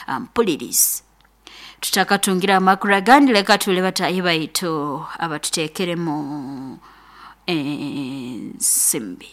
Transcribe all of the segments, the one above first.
Mpulirizi, tutakatungira amakuru agandi, leka tule batahi baitu abatuteekeremu ensimbi.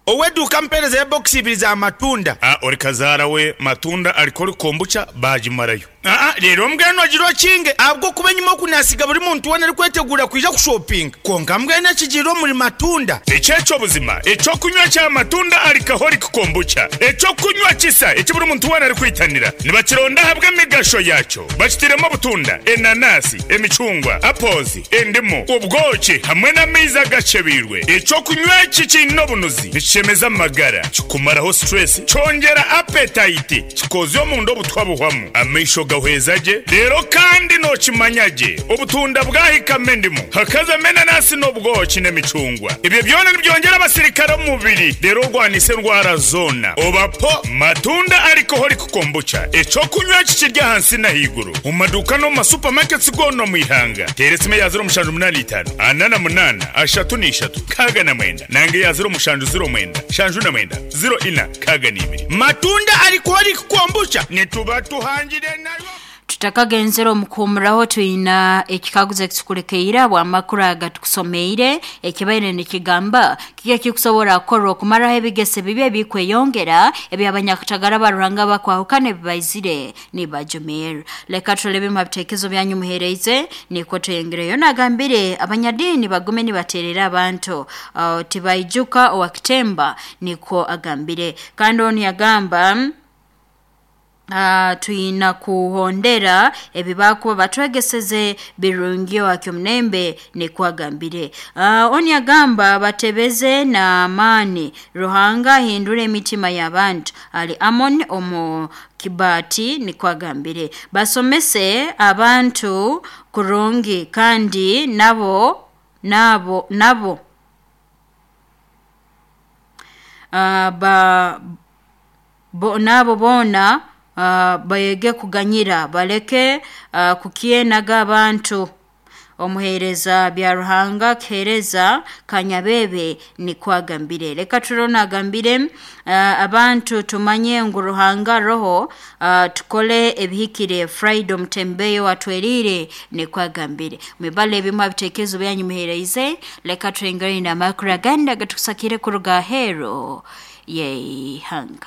Ow'eduuka mpeereza ebokisi ibiri za matunda. A Ori kazaara we matunda alikora kombucha baagimarayo. Aa Leero mbwenu ogira okinge ahabw'okuba enyima oku naasiga buri muntu weena arikweteguura kwija kushopinga. Kwonka mbwenu ekigiire omuri matunda. Eki eky'obuzima, eky'okunywa kya matunda alcoholic kombucha, eky'okunywa kisa eki buri muntu weena arikwitanira. Nibakironda ahabw'emigasho yaakyo. Bakitairemu obutunda, enanasi, emicungwa, apples, endimu, obwoki hamwe n'amaizi agakyebeirwe. Eky'okunywa eki kiine obunuzi, nikishemeza amagara, kikumaraho stress, kyongyera appetite, kikoozya omunda obutwa buhwamu, amaisho gahweza gye, reero kandi nookimanya gye obutunda bwahikamu endimu, hakazamu enanasi n'obwoki n'emicungwa. Ebyo byona nibyongyera abasirikare omu mubiri reero orwanise endwara zoona. Oba po Matunda Alcoholic Kombucha, eky'okunywa eki kiri ahansi n'ahaiguru omu maduuka n'omu ma supermarkets goona omu ihanga. Teera esimu eya 0785 48 33 69 nanga eya 0709 79 04 62. Matunda Alcoholic Kombucha nituba tuhangire nayo. Tutakagenzere omu kuhumuraho, twina ekikaguzo ekitukulekeire habw'amakuru aga tukusomeire ekibaire nikigamba: kiki ekikusobora kukorwa okumaraho ebigeso ebibi ebikweyongera eby'abanyakatagara ba Ruhanga abakwahukana ebi baizire nibajumirra? Leka turole ebimu ha bitekerezo byanyu muheereize, nikwo tweyongereyo. Nagambire abanyadiini bagume nibateerera abantu, tibaijuka owa kitemba, nikwo agambire. Kandi onu yagamba, twina kuhondera ebi bakuba batwegeseze birungi owakyomulembe, nikwo agambire. Onu yagamba batebeze n'amaani, Ruhanga ahindura emitima y'abantu. Ali Amon omu Kibati, nikwo agambire. Basomese abantu kurungi kandi nabo nabo nabo ba bo, nabo boona bayege kuganyira, baleke kukyenaga abantu. Omuheereza bya Ruhanga kiheereza Kanyabebe, nikwo agambire. Leka turone agambire, abantu tumanye ngu Ruhanga roho, tukole ebihikire. Friday omutembeyo atwerire, nikwo agambire. Mwibale ebimu ha bitekerezo byanyu muheereize. Leka twengere n'amakuru agandi agatusakire kuruga aheeru y'eihanga.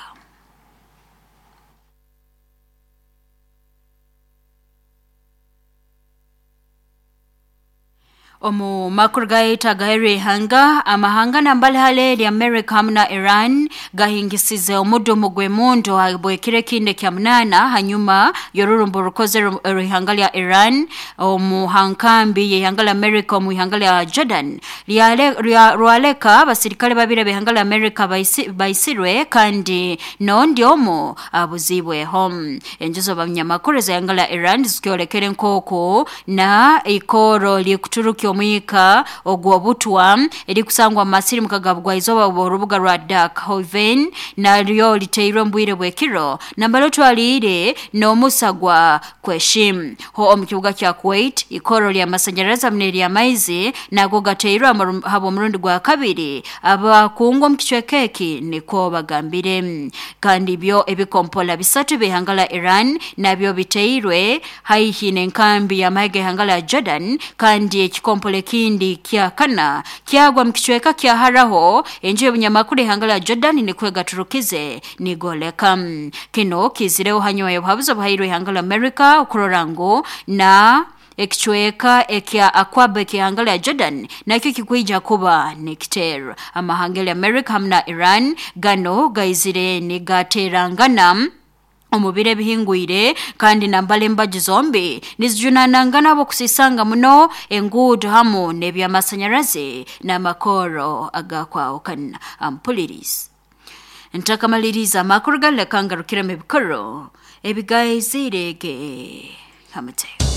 Omu makuru gaitu agaheru ihanga, amahanga nambali hale erya America hamu na Iran gahingisize omudumu gw'emundu habwekiro ekindi ekya munaana hanyuma y'orurumbo rukoze ihanga lya Iran omu hankambi y'ihanga lya America omu ihanga lya Jordan. Rwaleka abasirikale babiri ab'ihanga lya America baisirwe kandi n'ondi omu abuzibweho. Enjuzo abanyamakuru ez'ihanga lya Iran zikyolekere nk'oku na ikoro likuturukya omwika ogw'obutwa erikusangwa mu masiri mukagabwa izooba orubuga rwa Darkhoven naryo liteirwe omu bwire bw'ekiro nambere otwaliire n'omusa gwa Kweshim. Ho omu kibuga kya Kuwait, ikoro ly'amasanyarazi hamu n'ery'amaizi nago gateirwe habw'omurundi gwa kabiri, abakungu omu kicweka eki nikwo bagambire. Kandi byo ebikompola bisatu by'ihanga lya Iran nabyo biteirwe haihi n'enkambi y'amahe g'ihanga lya Jordan, kandi ekikompola ekindi kya kana kyagwa mu kicweka kya haraho. Enju y'obunyamakuru ihanga lya Jordan nikwo egaturukize nigoleka. Kino kizireho hanyuma y'obuhabuzi obuhairwe ihanga lya America okurora ngu na ekicweka ekya Akwaba ekihanga lya Jordan nakyo kikwija kuba nikiteerwa. Amahanga lya America hamu na Iran gano gaizire nigaterangana omu biro ebihingwire, kandi nambala embaju zombi nizijunanangana kusisanga muno enguudo hamu n'ebyamasanyarazi n'amakoro agakwahukana. Ampulirizi, ntakamaliriza amakuru galeka ngarukiremu ebikoro ebigaizirege hamute.